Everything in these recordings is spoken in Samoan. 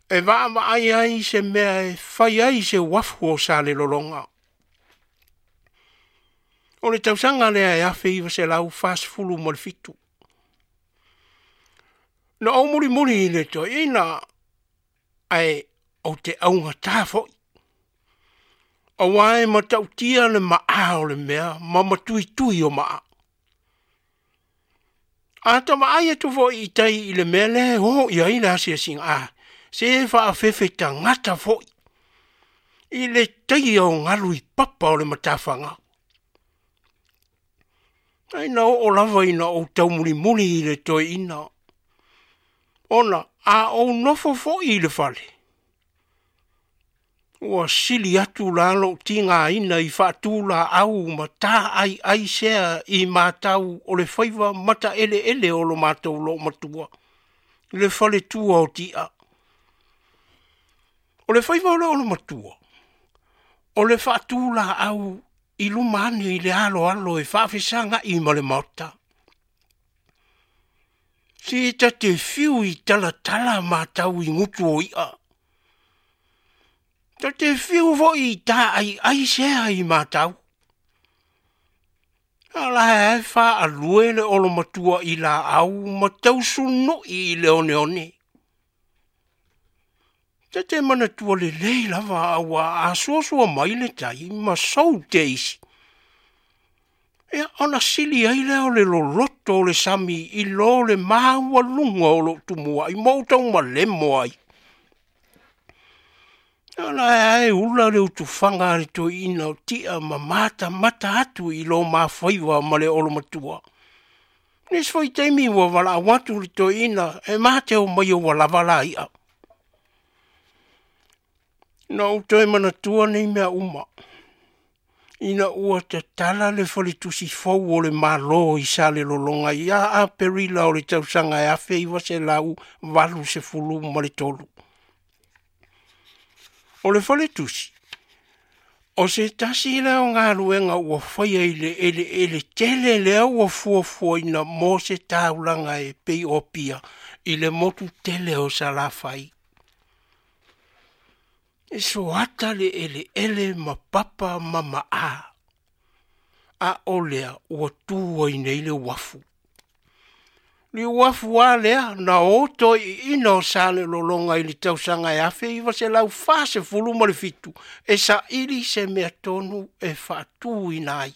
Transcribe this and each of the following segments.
E vaavaai ai se mea e fai ai se uafu o Salelologa. O le tausaga lea e 1947. Na ou mulimuli i le toeaina, ae ou te augata foi. Aua e matautia le maa o le mea ma matuitui o maa. A ta vaai atu foi i tai i le mea lea e o i ai le asiasiga, a, se faafefe tagata foi i le taia o galu i papa o le matafaga. Ae na oo lava ina ou taumulimuli i le toeaina, ona a ou nofo foi i le fale, ua sili atu la lou tigaina i faatulaau ma taaiai sea i matau o le faiva mataeleele o lo matou loomatua, le faletua o Ti'a. O le faiva o le olomatua, o le faatulaau i luma ane i le aloalo e faafesaga'i ma le maota. Se ta te fiu i talatala matau i gutu o i'a. Ta te fiu foi i taaiai sea i matau. A la e faalue le olomatua i laau ma tausunu'i i le oneone. Ta te manatua lelei lava aua a suasua mai le tai ma sou te isi. Ia, ona sili ai lea o le loloto o le sami i lo le maualuga o lou tumuai ma ou taumalemo ai. A la e ula le utufaga a le toeaina o Ti'a ma matamata atu i lo mafaiva ma le olomatua. Nisi foi taimi ua valaau atu le toeaina e mate o mai ua lava la i'a. Na ou toe manatua nei mea uma, ina ua tatala le faletusi fou o le Malo i Salelologa ia Aperila o le tausaga e 1983. O le faletusi, o se tasi lea o galuega ua faia i le eleele tele lea ua fuafuaina mo se taulaga e pei o Apia i le motu tele o Salafai. E soata le eleele ma papa ma maa, a o lea ua tu ai nei le uafu. Le uafu a lea na o toeaiina o Salelologa i le tausaga e 1947 e saili se mea tonu e faatuina ai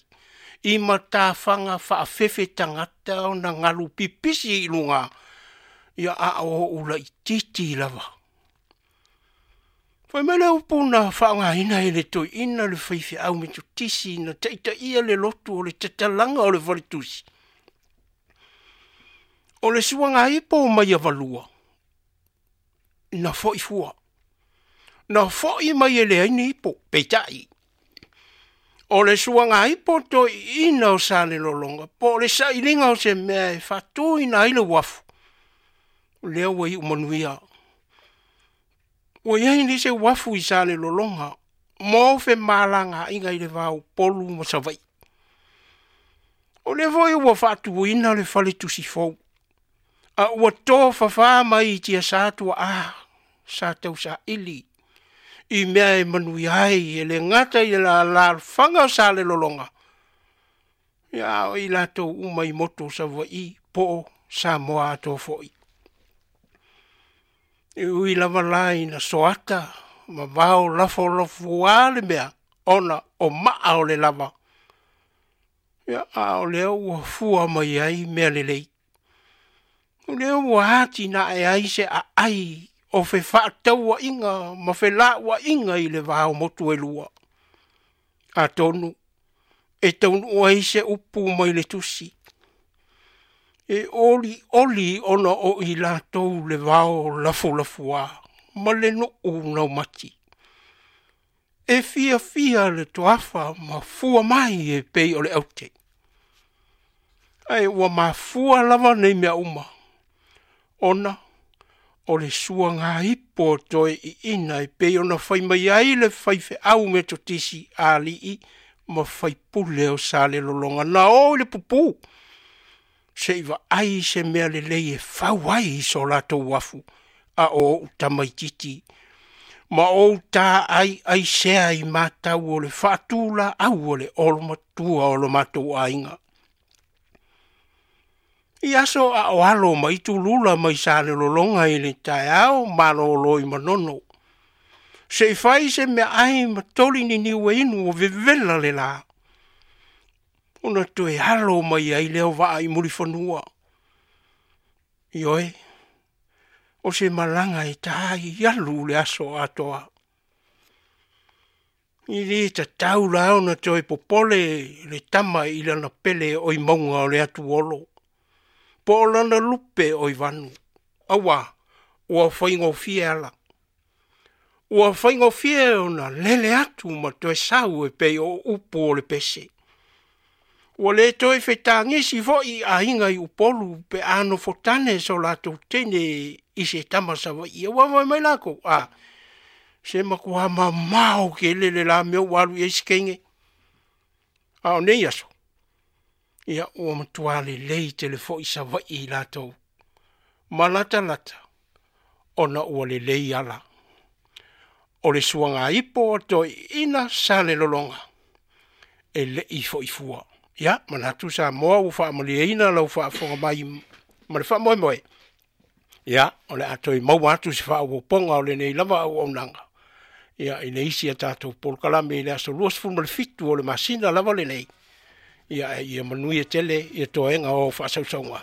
i matafaga faafefe tagata ona galu pipisi i luga, ia a o ou laitiiti lava. Fai mai le upu na faaaogaina e le toeaina le faifeau Metotisi na taitaia le lotu o le tatalaga o le faletusi. O le suagaipo o Maiavalua, na foi fua. Na foi mai e leai ni ipo, peitai. O le suagaipo toeaina o Salelologa, po o le sailiga o se mea e faatuina ai le uafu, lea ua iu manuia. Ua i ai nei se uafu i Salelologa mo femalagaaiga i le va o Upolu ma Savaii. O lea foi ua faatuina le faletusi fou, a ua tofafā mai i tiasa tuaa sa tausaili i mea e manuia ai e le gata i le alaalafaga o Salelologa, ia a o i latou uma i motu o Savaii po o Samoa atoa foi. E ui lava la ina soata ma vao lafolafua le mea ona o maa o le lava, ia a o lea ua fua mai ai mea lelei. O lea ua atinae ai se aai o fefaatauaiga ma felauaiga i le va o motu e lua. Atonu e taunuu ai se upu mai le tusi, e olioli ona o i latou le vao lafolafua ma le nuu naumati. E fiafia le toafa ma fua mai e pei o le aute. Ae ua mafua lava nei mea uma, ona o le suagaipo toeaiina e pei ona fai mai ai le faifeau Metotisi a alii ma faipule o Salelologa na o i le pupū, se i vaai se mea lelei e fau ai i so latou uafu, a o ou tamaititi, ma ou tā'ai'aisea i matau o le faatulā'au a le olomatua o lo matou aiga. I aso a o alo ma itulula mai Salelologa i le taeao malōlō i Manono, se i fai se meaai ma toli niniu e inu ua vevela le lā, ona toe alo mai ai lea o vaa i Mulifanua. Ioe, o se malaga e ta ai alu le aso atoa. E lē tatau la ona toe popole le tama i lana pele o i mauga o le atuolo, po o lana lupe o i vanu, auā ua faigofie ala. Ua faigofie ona lele atu ma toe sau e pei o upu o le pese. Ua lē toe fetagisi foi i aiga i Upolu pe a nofotane so latou teine i se tama Savaii. Aua fai mai lakou, a, se matuā mamao tele le la mea ua alu i ai si teine. A o nei aso, ia ua matuā lelei tele foi Savaii i latou ma latalata ona ua lelei ala. O le suagaipo a toeaiina Salelologa e le i foi fua. Ia, manatu Samoa ua faamalieina lau faafofoga mai ma le faamoemoe. Ia, o le a toe maua atu se faaopoopoga o lenei lava auaunaga ia i le isi a tatou polokalame i le aso 27 o le masina lava lenei. Ia, ia manuia tele ia toega o faasausauga.